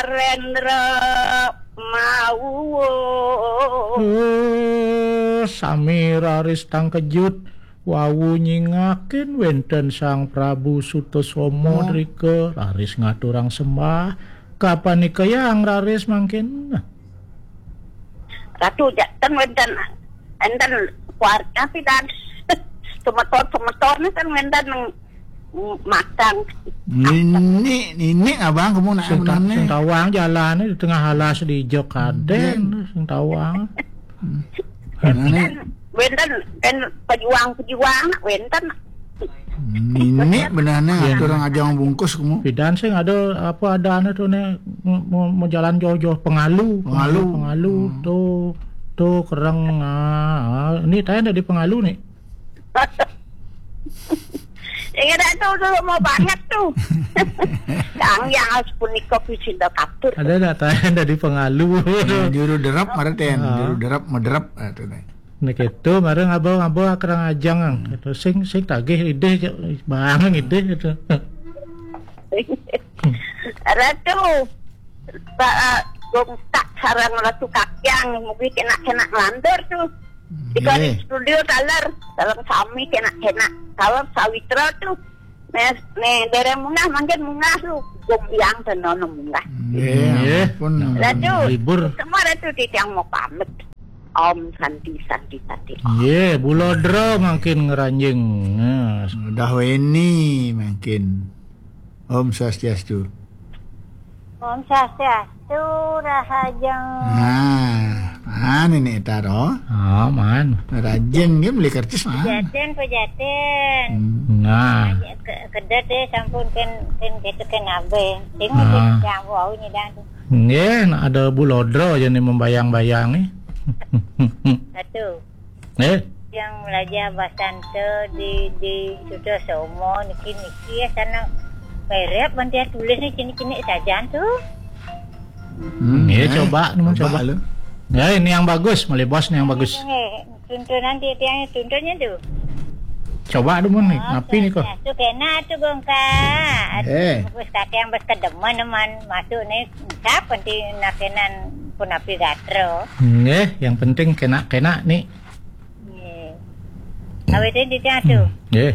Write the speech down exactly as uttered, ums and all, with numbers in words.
Rendra mau. Eh, sami raris tangkejut. Wau nyingakin wénten Sang Prabu Sutasoma. Drika raris ngaturang sembah. Kapan nika yang raris mangkin? Ratu, ja-, ten wénten, enten keluarga pidan. Semeton-semeton ten wénten matang. Nini, nini abang kamu nak sing ta-, sing tawang jalan di tengah alas di ijo kadén, sing tawang. Hmm. Nah, ini wénten, wénten pejuang-pejuang, wénten. Nini benarnya. Iya. Atur orang ajang bungkus kamu. Pidan sing ada apa adanya tuh nih, mau, mau, mau jalan jauh-jauh pengalu. Pengalu. Pengalu. Hmm. Tuh, tuh kereng. Ah, ini tanya dari pengalu nih. Ingat tuh dulu mau banget tuh. Sang yang harus punika pisinda katur. Ada data dari pengalu. Nah, juru derap, marah ten. Ah. Juru derap, mederap, ah, tuh, nih. Nek itu marah ngabau-ngabau akrang ajang, ang. Gitu. Sing, sing tagih idih, bangun idih gitu. Ratu, Pak Gongtak sarang Ratu Kakyang, mungkin kena-kena ngelantur tuh. Di studio taler, dalam sami kena-kena. Kalau Sawitra tuh, nih, nih, dari munggah, mangkin munggah tuh, gombiang tenono munggah. Nggih, nggih. Ampun. Ratu, libur. Semua Ratu titiang mau pamit. Om Santi, Santi, Santi. Nggih, bulodra mangkin ngranjing. Nah. Udah weni mangkin. Om Swastiastu. Om Swastiastu, Rahajeng. Nah, nah, ini taro. Oh, man. Rajin dia beli kertas, man. Pejaten, pejaten. Hmm. Nah. Ke-, kedet deh, sampun ken, ken gitu ken abe. Sing. Ah. Yang wau nyidang. Nggih, nak ada bulodra aja nih membayang-bayang nih. Satu. Eh? Yang belajar bahasa ente di, di Sutasoma niki, niki ya sana merep, nanti tulis nih cini-cini saja tuh. Hmm, nggih, eh, coba, coba, coba. Lu. Ya, ini yang bagus, malih bos nih yang bagus. Ini, ini, tuntunan dia, dia tuntunnya tuh. Coba dulu nih, oh, napi nih kok. Tuh kena tuh gongka. Eh. Bagus kata yang bos kedemen man masuk nih, cap nanti nakenan pun api gatro. Nggih, yang penting kena-kena nih. Nggih. Awetin titiang tuh. Hmm. Nggih.